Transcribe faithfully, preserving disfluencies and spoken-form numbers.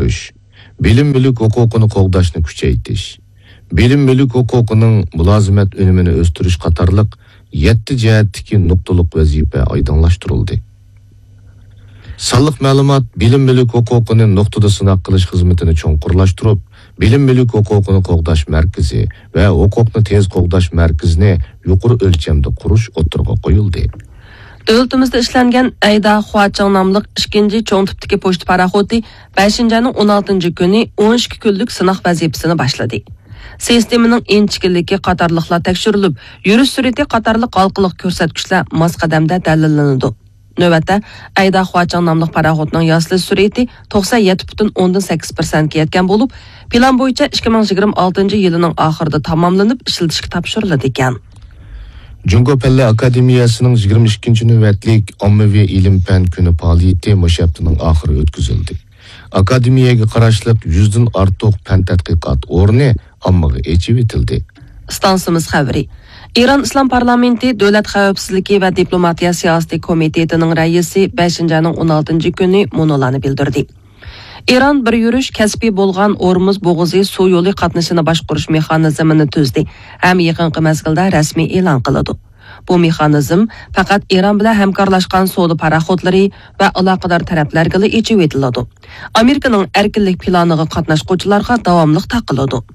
ئۆستۈرۈش، بىلىم مۈلۈك ھوقۇقىنى قوغداشنى كۈچەيتىش، بىلىم مۈلۈك ھوقۇقىنىڭ مۇلازىمەت ئۈنۈمىنى ئۆستۈرۈش قاتارلىق يەتتە جەھەتتىكى نۇقتىلىق ۋەزىپە ئايدىڭلاشتۇرۇلدى. سانلىق مەلۇمات بىلىم مۈلۈك ھوقۇقىنى نۇقتىدا سىناق قىلىش خىزمىتىنى چوڭقۇرلاشتۇرۇپ، بىلىم مۈلۈك ھوقۇقىنى قوغداش مەركىزى ۋە ھوقۇقنى تېز قوغداش مەركىزىنى يۇقىرى ئۆلچەمدە قۇرۇش ئوتتۇرىغا قويۇلدى. دۆلىتىمىزدە ئىشلەنگەن ئەيدا خۇاچىڭ ناملىق ئىككىنچى چوڭ تىپتىكى پوچتا پاراخوتى بەشىنچى ئاينىڭ ئون ئالتىنچى كۈنى ئون ئىككى كۈنلۈك سىناق ۋەزىپىسىنى باشلىدى. سىستېمىنىڭ ئىنچىكىلىكى قاتارلىقلار تەكشۈرۈلۈپ، يۈرۈش سۈرئىتى قاتارلىق ھالقىلىق كۆرسەتكۈچلەر ماس قەدەمدە دەلىللىنىدۇ. نۆۋەتتە، ئەيدا خۇاچىڭ ناملىق پاراخوتنىڭ ياسىلىش سۈرئىتى توقسەن يەتتە پۈتۈن ئوندىن سەككىز پىرسەنتكە يەتكەن بولۇپ، پىلان بويىچە ئىككى مىڭ يىگىرمە ئالتىنچى يىلىنىڭ ئاخىرىدا تاماملىنىپ ئىشلىتىشكە تاپشۇرۇلىدىكەن. جۇڭگو پەنلەر ئاكادېمىيەسىنىڭ يىگىرمە ئىككىنچى نۆۋەتلىك ئاممىۋى ئىلىم-پەن كۈنى پائالىيىتى مۇشۇ ھەپتىنىڭ ئاخىرى ئۆتكۈزۈلدى. ئاكادېمىيەگە قاراشلىق يۈزدىن ئارتۇق پەن تەتقىقات ئورنى ئاممىغا ئېچىۋېتىلدى. ئىستانسىمىز خەۋىرى. ئىران ئىسلام پارلامېنتى دۆلەت خەۋپسىزلىكى ۋە دىپلوماتىيە سىياسىتى كومىتېتىنىڭ رەئىسى بەشىنچى ئاينىڭ ئون ئالتىنچى كۈنى مۇنۇلارنى بىلدۈردى. ئىران بىر يۈرۈش كەسپىي بولغان ئورمۇز بوغۇزى سۇ يولى قاتنىشىنى باشقۇرۇش مېخانىزمىنى تۈزدى ھەم يېقىنقى مەزگىلدە رەسمىي ئېلان قىلىدۇ. بۇ مېخانىزم پەقەت ئىران بىلەن ھەمكارلاشقان سودا پاراخوتلىرى ۋە ئالاقىدار تەرەپلەرگىلا ئېچىۋېتىلىدۇ. ئامېرىكىنىڭ ئەركىنلىك پىلانىغا قاتناشقۇچىلارغا داۋاملىق تاقىلىدۇ.